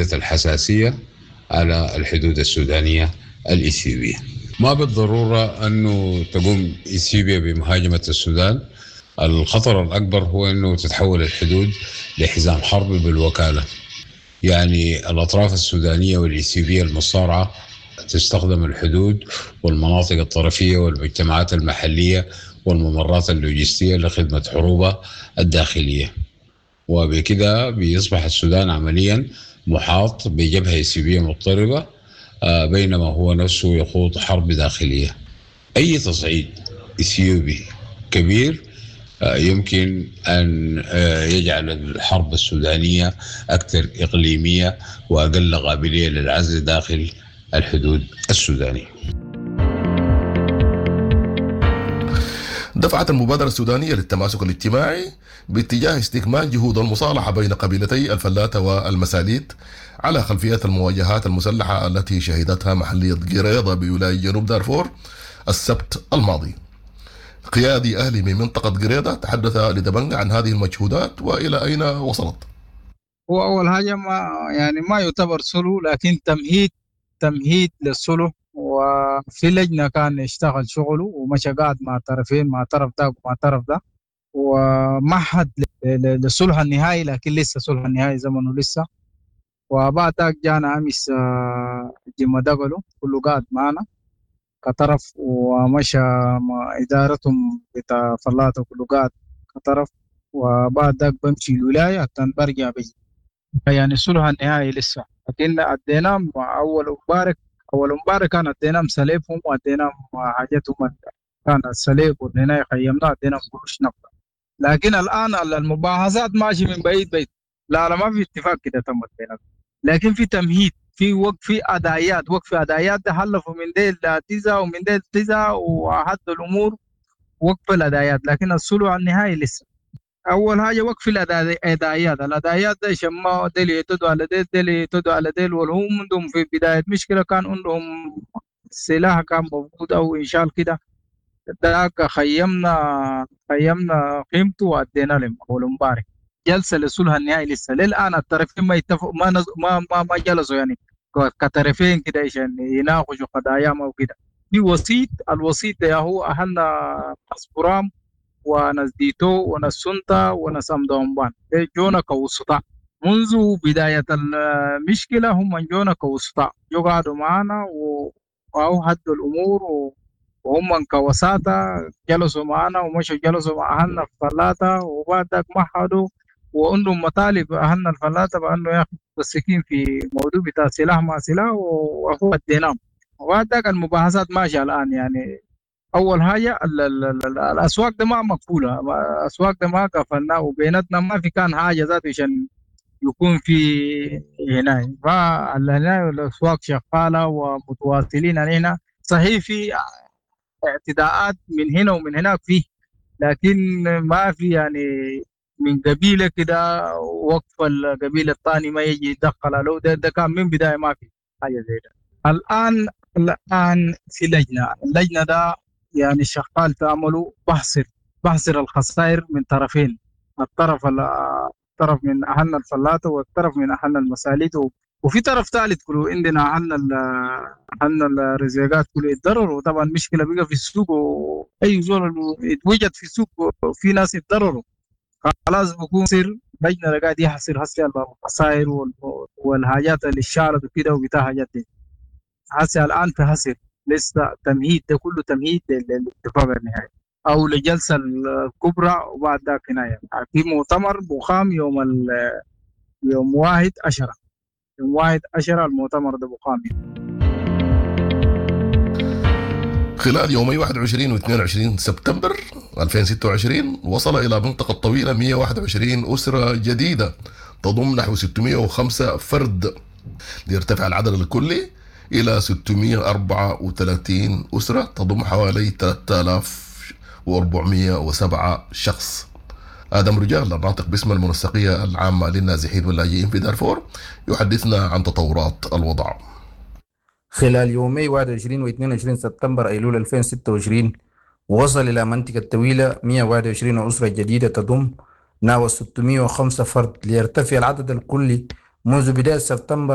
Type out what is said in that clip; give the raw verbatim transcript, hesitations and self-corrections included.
زيادة الحساسية على الحدود السودانية الإثيوبية. ما بالضرورة أنه تقوم إثيوبيا بمهاجمة السودان. الخطر الأكبر هو أنه تتحول الحدود لحزام حرب بالوكالة، يعني الأطراف السودانية والإثيوبية المصارعة تستخدم الحدود والمناطق الطرفية والمجتمعات المحلية والممرات اللوجستية لخدمة حروبها الداخلية، وبكده بيصبح السودان عمليا محاط بجبهة إثيوبية مضطربة، آه، بينما هو نفسه يخوض حرب داخلية. أي تصعيد إثيوبي كبير، آه، يمكن أن، آه، يجعل الحرب السودانية أكثر إقليمية وأقل قابلية للعزل داخل الحدود السودانية. دفعت المبادرة السودانية للتماسك الاجتماعي باتجاه استكمال جهود المصالحة بين قبيلتي الفلاتة والمساليت على خلفية المواجهات المسلحة التي شهدتها محلية قريضة بولاية جنوب دارفور السبت الماضي. قيادي أهلي من منطقة قريضة تحدث لدبنجة عن هذه المجهودات وإلى أين وصلت. هو أول حاجة ما يعني ما يعتبر سلو، لكن تمهيد، تمهيد للسلو. وفي لجنة كان يشتغل شغله ومشى قاعد مع طرفين، مع طرف ده ومع طرف ده، ومهد ل-، ل-، للصلح النهائي، لكن لسه صلح النهائي زمنه لسه. وبعد ذاك جانا أمس، آه، جيم دقلو كله قاعد معنا كطرف، ومشى مع إدارتهم بتاع فلاته كله قاعد كطرف. وبعد ذاك بمشي الولاية حتى برجع بيجي. يعني الصلح النهائي لسه، لكن أديناهم أول مبارك، أول مبارك كان أديناهم سليفهم وأديناهم حاجتهم، كان السليف وأديناه خيمناه، أديناهم قروش نقد. لكن الآن المباحثات ماشي من بعيد بعيد، لا لا ما في اتفاق كده تم بيناتهم، لكن في تمهيد، في وقف، في أدايات، وقف أدايات ده حلفوا من ديل تيزا ومن ديل تيزا وحد الأمور وقف الأدايات، لكن الصلح النهائي لسه. أول حاجة وقف الأدايات، الأدايات ده شماء ديل يتدوا على ديل، ديل يتدوا على ديل، والهم عندهم في بداية مشكلة كان عندهم سلاح كان موجود أو إنشال كده، ذاك خيمنا، خيمنا قيمته وأدينا لهم أول مبارك. جلسة للصلح النهائي لسه للآن الطرفين ما يتفقوا، ما نز-، ما، ما، ما جلسوا يعني كطرفين كده عشان يناقشوا قضاياهم أو كده. في وسيط، الوسيط ده هو أهلنا أسبرام وناس ديتو وناس سنتا وناس أمدومبان، جونا كوسطاء منذ بداية المشكلة، هم جونا كوسطاء، جو قعدوا معنا و-، وأو هدوا الأمور و-، وهم كوساطة جلسوا معنا ومشوا جلسوا مع أهلنا الفلاتة، وبعد ذاك مهدوا وعندهم مطالب أهلنا الفلاتة بأنه ياخذوا السكين في موضوع بتاع سلاح مع سلاح وهو اديناهم. وبعد ذاك المباحثات ماشية الآن. يعني أول حاجة ال-، ال-، ال-، ال-، الأسواق ده ما مقفولة، الأسواق ده ما قفلنا، وبيناتنا ما في كان حاجة ذاته عشان يكون في هنا. فهنا الأسواق شغالة ومتواصلين علينا. صحيح في اعتداءات من هنا ومن هناك فيه، لكن ما في يعني من قبيلة كده وقف القبيلة الثاني ما يجي يتدخل له، ده، ده كان من بداية ما في حاجة زي ده. الآن، الآن في لجنة، اللجنة ده يعني شغال تعملوا بحصر، بحصر الخسائر من طرفين، الطرف ال-، الطرف من أهلنا الفلاته والطرف من أهلنا المساليت، و-، وفي طرف ثالث كله عندنا أهلنا ال-، أهلنا الرزيقات كله يتضرروا. وطبعا مشكلة بقى في السوق، وأي زول اتوجد في السوق في ناس يتضرروا، خلاص بكون سر لجنة قاعد يحصر هسه الخسائر وال-، والحاجات اللي شالت وكده وبتاع حاجات دي. هسه الآن في حصر لسه تمهيد، ده كله تمهيد لل-، للاتفاق النهائي أو لجلسة الكبرى. وبعد ذاك هنا في مؤتمر بخام يوم ال-، يوم واحد عشرة، يوم واحد عشرة المؤتمر ده بخام. خلال يومي واحد وعشرين واثنين وعشرين سبتمبر ألفين وستة وعشرين وصل إلى منطقة طويلة مية وواحد وعشرين أسرة جديدة تضم نحو ستمية وخمسة فرد، ليرتفع العدد الكلي إلى ستمية وأربعة وثلاثين أسرة تضم حوالي ثلاثة آلاف وأربعمية وسبعة شخص. آدم رجال الناطق باسم المنسقية العامة للنازحين واللاجئين في دارفور يحدثنا عن تطورات الوضع. خلال يومي واحد وعشرين واثنين وعشرين سبتمبر أيلول ألفين وستة وعشرين وصل إلى منطقة طويلة مية وواحد وعشرين أسرة جديدة تضم نحو ستمية وخمسة فرد، ليرتفع العدد الكلي منذ بداية سبتمبر